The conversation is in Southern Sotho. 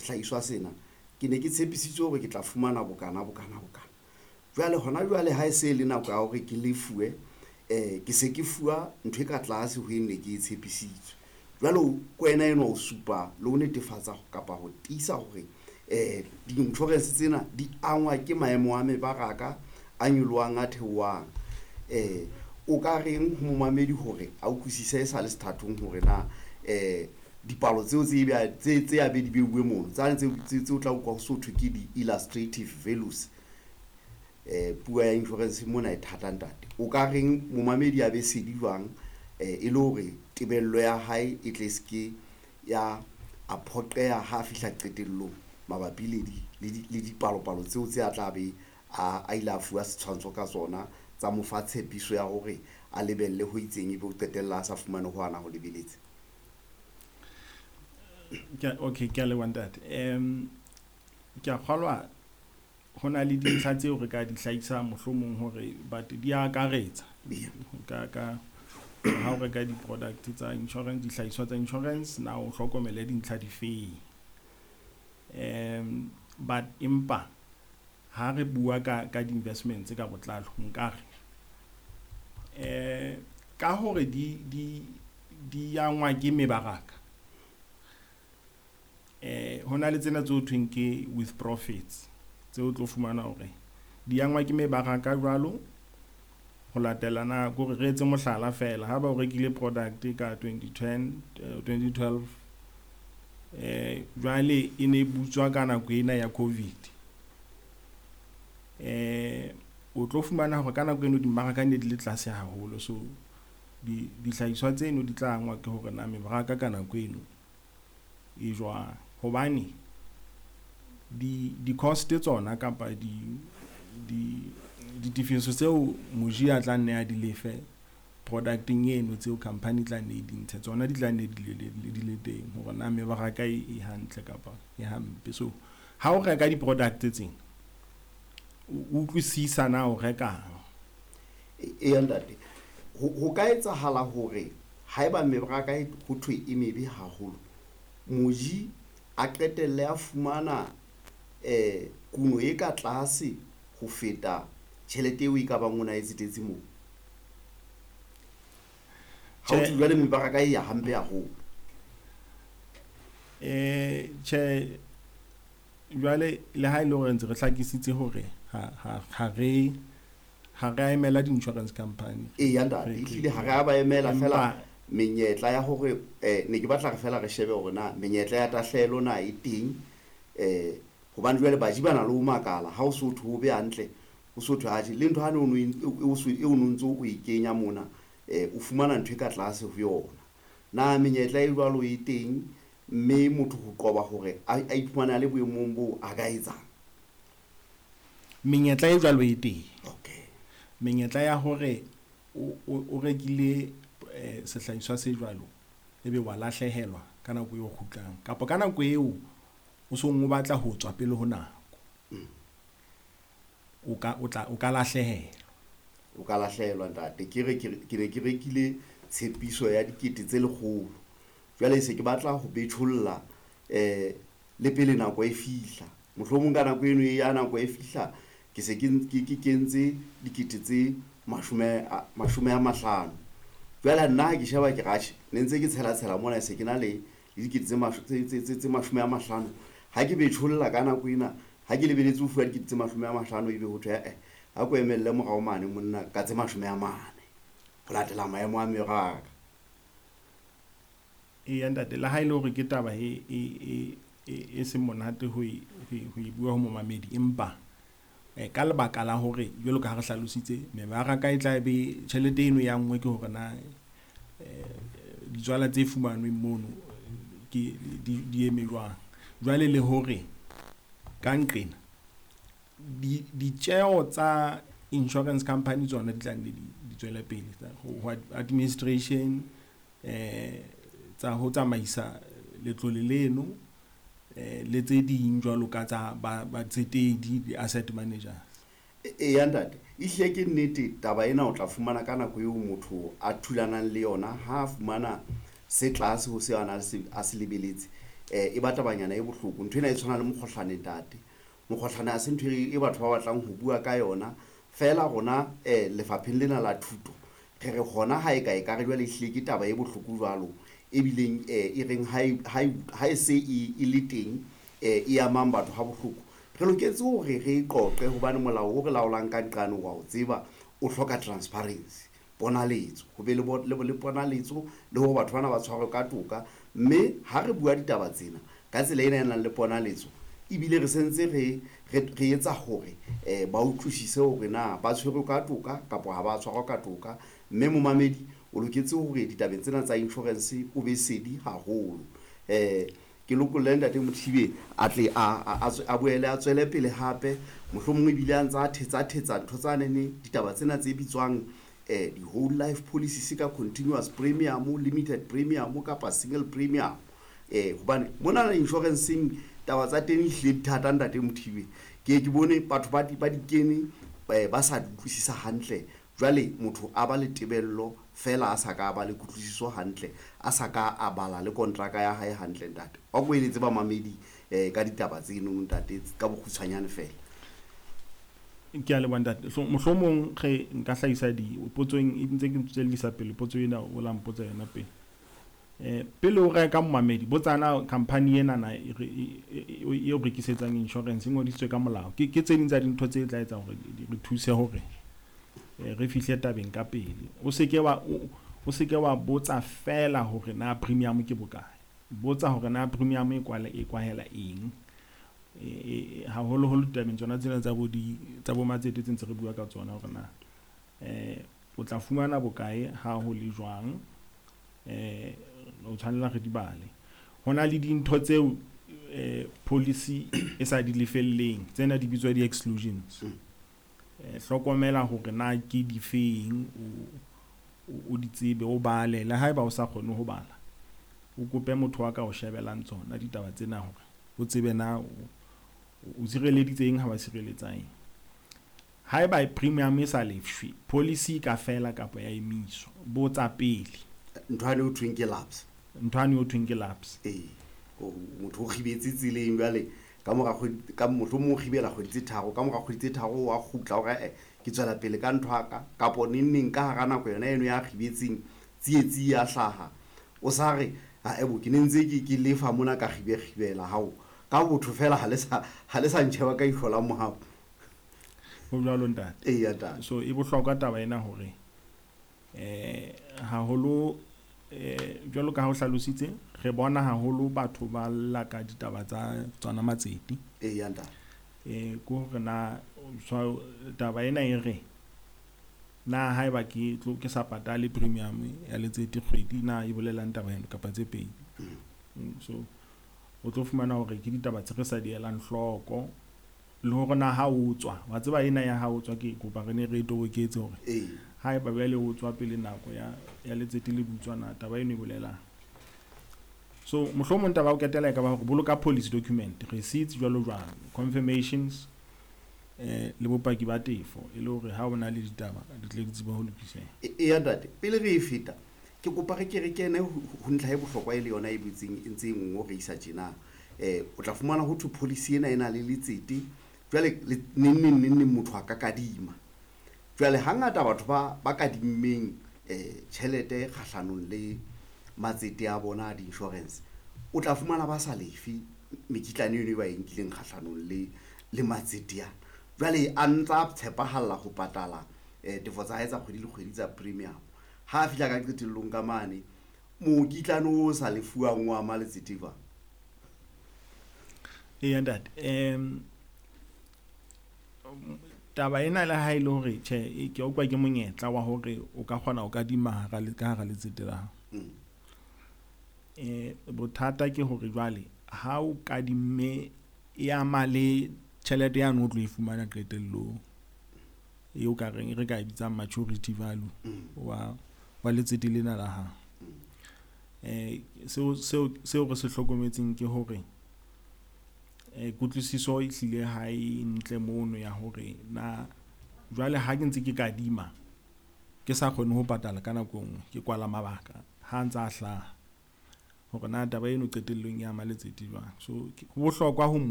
Sehlahiswa sena ke ne ke tshepisitswe hore ke tla fumana bokana, bokana, bokana. Jwale hona jwale ha e se le nako ya hore ke lefuwe, ke se ke fuwa ntho e ka tlase ho e ne ke e tshepisitswe. Jwale ko wena enwa o supa le ho netefatsa kapa ho tiisa hore di-insurance tsena di angwa ke maemo a mebaraka a nyolohang, a theohang. O ka reng ho momamedi hore a utlwisise e sa le sethathong hore na dipalo tseo tse a be di beuwe mono tsane tse o tla utlwa ho so thwe ke di-illustrative values. Puo ya insurance mona e thata, ntate. O ka reng momamedi a be sedi jwang, e le hore tebello ya hae e tle seke ya a phoqeha ha a fihla qetellong mabapi le dipalopalo tseo tse a tla be a ile a fuwa setshwantsho ka tsona, tsa mo fa tshepiso ya hore a lebelle ho itseng, ebe o qetella a sa fumane ho ana ho lebeletse? Okay, ke a leboha, ntate. Ke a kgolwa ho na le dintlha tseo re ka di hlahisang mohlomong hore but di akaretsa ka ha o reka di-product tsa insurance, dihlahiswa tsa insurance, na o hlokomele dintlha difeng. But empa ha re bua ka di-investments ka botlalo, nkare ka hore di angwa ke mebaraka, ho na le tsena tse ho thweng ke with profits, tse o tlo fumana hore di angwa ke mebaraka jwalo ho latela na kore re etse mohlala fela, ha ba o rekile product ka 2010, 2012, jwale e ne butswa ka nako ena ya COVID, o tlo fumana hore ka nako eno dimmaraka ne di le tlase haholo, so dihlahiswa tseno di tla angwa ke hore na mebaraka ka nako eno e jwang, hobane di cost tsona kapa di ditefiso tseo moji a tla nne a di lefe producteng eno tseo company tla nne di ntshe tsona, di tla nne di le teng hore na mebaraka e hantle kapa e hampe. So ha o reka di-product tsena, o utlwisisa na o rekang. Eya, ntate, ho ka etsahala hore haeba mebaraka ho thwe e mebe haholo, moji a qetelle a fumana kuno e ka tlase ho feta tjhelete eo e ka bang o na e tsetetse moo. Ha o jwale mebaraka e ya hampe haholo. Tjhe, jwale le ha ile hore ntse re hlakisitse hore ha re a emela di-insurance company. Eya, ntate, ehlile ha re a ba emela fela menyetla ya hore ne ke batla re fela re shebe hore na menyetla ya tahlehelo na e teng, hobane jwale baji ba na le ho makala ha o so thwe o be hantle, o so thwe atjhe le ntho hane o no ntso o e kenya mona, o fumana ntho e ka tlase ho yona. Na menyetla e jwalo e teng, mme motho ho qoba hore a iphumane a le boemong boo a ka etsang? Menyetla e jwalo e teng. Okay. Menyetla ya hore o rekile sehlahiswa se jwalo, ebe wa lahlehelwa ka nako eo kgutlang kapa ka nako eo o song o batla ho tswa pele ho nako, o ka lahlehelwa. O ka lahlehelwa, ntate. Ke re ke ne ke rekile tshepiso ya 100,000, jwale se ke batla ho betjholla le pele nako e fihla. Mohlomong ka nako eno ya nako e fihla ke se ke kentse 50,000. Jwale nna ha ke sheba ke re atjhe, ne ntse ke tshela tshela mona, se ke na le 50,000. Ha ke betjholla ka nako ena, ha ke lebeletse ho fuwa 50,000, ebe ho thwe ha ko emelle morao mane monna ka tse 40 ho latela maemo a meraka. Eya, ntate, le ha ile hore ke taba e seng monate ho e bua ho momamedi, empa ka lebaka la hore jwalo ka ha re hlalositse mebaraka e tla be tjhelete eno ya nngwe ke hore na ditswala tse fumanweng mono ke di eme jwang. Jwale le hore ka nqena ditjeho tsa insurance company tsona di tla nne di tswele pele ho administration, tsa ho tsamaisa letlole leno, le tse ding jwalo ka tsa batsetedi, di-asset managers. Eya, ntate, ehlile ke nnete taba ena. O tla fumana ka nako eo motho a thulanang le yona ha a fumana se tlase ho se ana a se lebeletse. E ba tabanyana e bohloko. Ntho ena e tshwana le mokgohlane ntate. Mokgohlane ha se ntho e batho ba batlang ho bua ka yona. Feela rona lefapheng lena la thuto re re hona ha e ka e ka re jwale ehlile ke taba e bohloko jwalo ebileng e reng ha e se e le teng e amang batho ha bohloko. Re loketse hore re e qoqe hobane molao o re laolang ka nqane wa o tseba o hloka transparency, ponaletso, ho be le ponaletso le hore batho bana ba tshwarwe ka toka. Mme ha re bua ditaba tsena ka tsela ena e nang le ponaletso, ebile re sentse re etsa hore ba utlwisise hore na ba tshwerwe ka toka kapa ha ba tshwarwa ka toka. Mme momamedi o loketse hore ditabeng tsena tsa insurance o be sedi haholo. Ke lokolle ntate Mothibe a tle a boele a tswele pele hape, mohlomong ebile a ntse a thetsa ntho tsa nene ditaba tsena tse bitswang di-whole life policies ka continuous premium, limited premium kapa single premium. Hobane mona insurance-eng taba tsa teng ehlile di thata ntate Mothibe. Ke ke bone batho ba di kene ba sa di utlwisisa hantle. Jwale motho a ba le tebello fela a sa ka ba le kutlwisiso hantle, a sa ka a bala le kontraka ya hae hantle ntate. Wa ko eletse ba mamedi ka ditaba tseno ntate ka bokgutshwanyane fela. Ke a leboha ntate. So mohlomong re nka hlahisa di potsong e ntse ke tswellisa pele potso ena o la mpotsa yona pele. Pele o reka momamedi botsana company ena na e o rekisetsang insurance e ngodisitswe ka molao. Ke tse ding tsa dintho tse tla etsa hore di re thuse hore re fihle tabeng ka pele. O seke wa botsa fela hore na premium ke bokae. Botsa hore na premium e kwahela eng. Haholoholo ditabeng tsona tsena tsa bo matsete tse ntse re bua ka tsona hore na o tla fumana bokae ha ho le jwang. O tshwanela re di bale. Ho na le dintho tseo policy e sa di lefelleng, tsena di bitswa di-exclusions. Hlokomela hore na ke difeng, o di tsebe, o bale. Le haeba o sa kgone ho bala, o kope motho wa ka o shebelang tsona ditaba tsena hore o tsebe na o sireleditse eng ha ba sireletsa eng. Haeba premium e sa lefshwe, policy ka fela kapa ya emiswa. Botsa pele. Ntho ane ho thweng ke lapse. Ntho ane ho thweng ke lapse. Motho o kgibetse tseleng jwale ka mora kgwedi, ka mohlomong o kgibela kgwedi tse tharo, ka mora kgwedi tse tharo wa kgutla hore ke tswela pele ka ntho ya ka, kapo neng neng ka hara nako yona eno ya kgibetseng tsietsi ya hlaha. O sa re ebo ke ne ntse ke lefa mona ka kgibela hao. Ka botho fela ha le sa ntjheba ka ihlo la mohau. Ho jwalo ntate. Eya ntate. So e bohlokwa taba ena hore haholo jwalo ka ha o hlalositse, re bona haholo batho ba lla ka ditaba tsa tsona matsete. Eya ntate. Ke hore na taba ena e re na haeba ke tlo ke sa patale premium ya letsete kgwedi na e bolelang taba eno kapa tse pedi. So o tlo fumana hore ke ditaba tse re sa di elang hloko le hore na ha o tswa, wa tseba ena ya ha o tswa ke kopa re ne re toboketse hore haeba bjale o tswa pele nako ya letsete le butswa na taba eno e bolelang. So mohlomong taba o ketela e ka ba hore boloka policy document, receipts jwalo jwalo, confirmations le bopaki ba tefo e le hore ha o na le ditaba di tle di tsebe ho lokiseha. Eya ntate, pele re e feta ke kopa re ke re kene ho ntlha e bohlokwa e le yona e butseng e ntse e ngongorehisa tjena. O tla fumana ho thwe policy ena e na le letsete jwale neng neng neng neng motho a ka kadima. Jwale hangata batho ba kadimmeng tjhelete kgahlanong le matsete a bona a di-insurance, o tla fumana ba sa lefe mekitlane eno e ba e nkileng kgahlanong le matsete ana. Jwale a ntsa tshepahalla ho patala tefo tsa hae tsa kgwedi le kgwedi tsa premium. Ha a fihla ka qetellong ka mane, mokitlane o sa lefuwang o ama letsete jwang? Eya ntate, taba ena le ha e le hore tjhe ke utlwa ke monyetla wa hore o ka kgona ho kadima ka hara letsete la hao. Bothata ke hore jwale ha o kadimme e ama le tjhelete yane o tlo e fumana qetellong eo ka reng re ka e bitsang maturity value wa letsete lena la hao. Seo re se hlokometseng ke hore kutlwisiso e hlile ha e ntle mono ya hore na jwale ha ke ntse ke kadima ke sa kgone ho patala ka nako nngwe, ke kwala mabaka ha ntsa hlaha. Hore na taba eno qetellong e ama letsete jwang. So ho bohlokwa ho mo